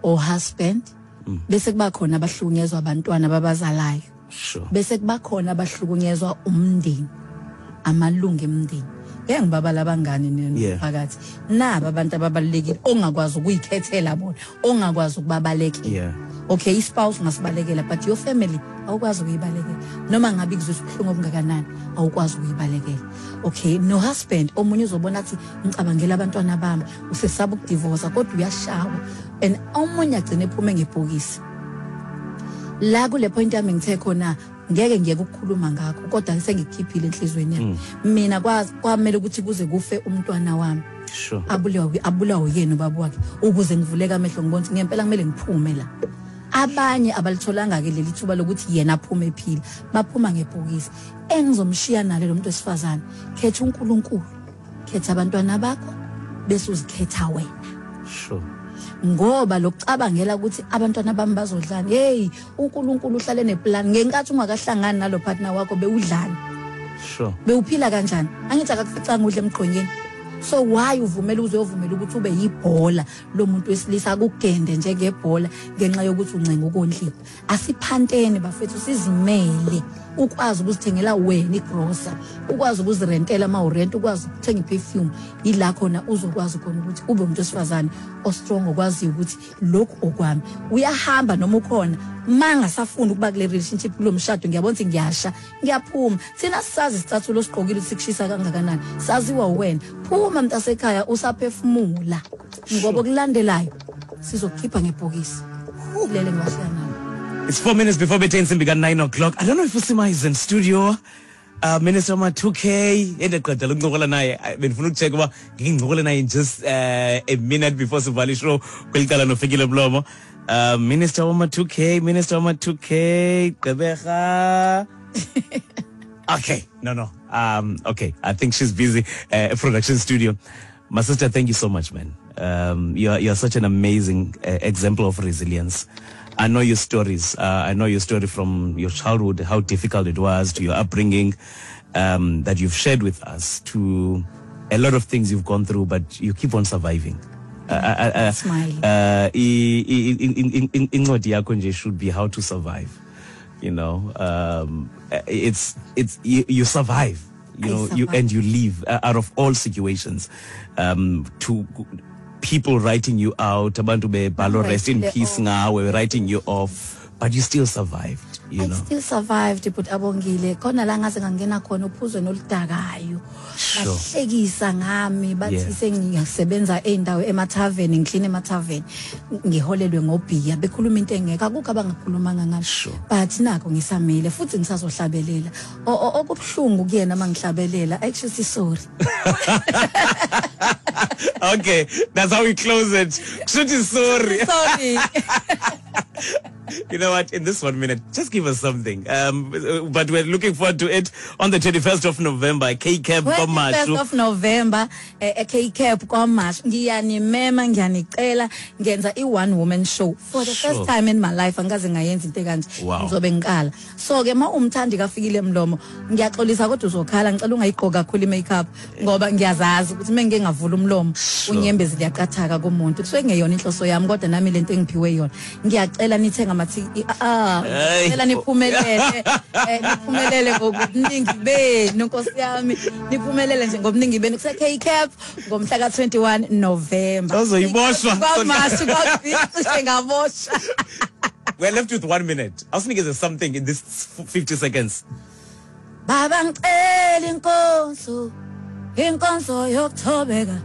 O husband. Bese kuba khona abahlukunyezwa abantwana babazalayo. Bese kuba khona abahlukunyezwa umndeni, amalungu emndeni. Ngeke ngibabala abangani phakathi. Naba abantu ababalulekile ongakwazi ukuyikhethela bona, ongakwazi ukubabalekela. Okay, ispouse ungasibalekela, but your family awukwazi ukuyibalekela. Noma ngabe kuzwisa ubuhlungu obungakanani, awukwazi ukuyibalekela. Okay, no husband omunye uzobona athi ngicabangela abantwana bami, usesaba ukudivorce kodwa uyashawa, and omunye agcine ephume ngebhokisi. La kule point yami ngithe khona ngeke ngiyeke ukukhuluma ngakho, kodwa sengikukhiphile enhlizweni yami. Mina kwamele ukuthi kuze kufe umntwana wami. Abulawe yena ubaba wakhe ukuze ngivuleke amehlo ngibone ukuthi ngempela kumele ngiphume la. Abanye abalitholanga ke leli thuba lokuthi yena aphume ephila, baphuma ngebhokisi. Engizomshiya nalo lo muntu wesifazane, khetha uNkulunkulu, khetha abantwana bakho bese uzikhetha wena. Ngoba lokucabangela ukuthi abantwana bami bazodlani, hey, uNkulunkulu uhlale neplan. Ngenkathi ungakahlangani nalo partner wakho bewudlani? Bewuphila kanjani? Angithi akakuficanga udle emgqonyeni. So why uvumela uzovumela ukuthi ube yibhola lo muntu wesilisa akugende njengebhola ngenxa yokuthi uncenga ukondliwa? Asiphanteni bafethu, sizimele, ukwazi ukuzithengela wena igrosa, ukwazi ukuzirentela ama urent, ukwazi ukuthenga iperfume. Yila khona uzokwazi khona ukuthi ube umuntu wesifazane ostrong, okwaziyo ukuthi lokhu okwami. Uyahamba noma ukhona mangasafuni ukuba kule relationship, kulo mshado, ngiyabona ukuthi ngiyasha, ngiyaphuma. Thina sisazi isicathulo osigqokile ukuthi sikushisa kangakanani, saziwa wena. Phuma mntasekhaya usaphefumula, ngoba okulandelayo sizokukhipha ngebhokisi. Lele ngiwashiya nalo. It's 4 minutes before bethe insimbi ka 9 o'clock. I don't know if uSima is in studio. Minister ma 2K endeqedela ukuncokola naye. Bendifuna ukucheck uba ngingcokola naye just a minute before sivale show kwelicala noFikile Mlomo. Minister wama 2K, Minister wama 2K, Gqeberha. Okay, no, no. Okay, I think she's busy, production studio. My sister, thank you so much, man. You're such an amazing example of resilience. I know your stories. I know your story from your childhood, how difficult it was, to your upbringing, that you've shared with us, to a lot of things you've gone through, but you keep on surviving. Smiling. Incwadi yakho nje should be how to survive. You survive. I survive. And you live out of all situations. To people writing you out, abantu bebhalo rest in peace ngawe, writing you off, but you still survived. I still survived, but abongile khona la ngaze ngangena khona uphuzo noludakayo. Bahlekisa ngami, bathi sengiyasebenza endawo emathaveni, ngiclean emaThaveni, ngiholelwe ngobhiya, bekhuluma into engekho, akukho abangakhulumanga ngami. But nakho ngisamile futhi ngisazohlabelela. Okubuhlungu kuyena mangihlabelela, actually sorry. Okay, that's how we close it. Kushuthi sorry. Sorry. You know what? In this 1 minute, just give us something. But we're looking forward to it on the 21st of November. K-Cap 21st KwaMashu. of November, K-Cap KwaMashu. Ngiyanimema, ngiyanicela, ngenza i-one woman show for the first time in my life. Angikaze ngayenza into ekanje. Wow. Ngizobe ngiqala. So ke ma umthandi kaFikile Mlomo, ngiyaxolisa kodwa uzokhala, ngicela ungayigqoki kakhulu i-makeup ngoba ngiyazazi ukuthi mengike ngavula umlomo, unyembezi liyaqathaka kumuntu. Kusuke kungeyona inhloso yami, kodwa nami lento engiphiwe yona. Ngiyacela nithenge amathikiti. Hey. Ngicela niphumelele ngobuningi benu, Nkosi yami. Niphumelele nje ngobuningi benu. Kuse K-Cap ngomhla ka 21 November. Uzoyiboshwa. KwaMashu, kwaBhici, ngaboshwa. We're left with 1 minute. Awusinikeze something in this 50 seconds. Baba ngicela inkonzo, inkonzo yokuthobeka.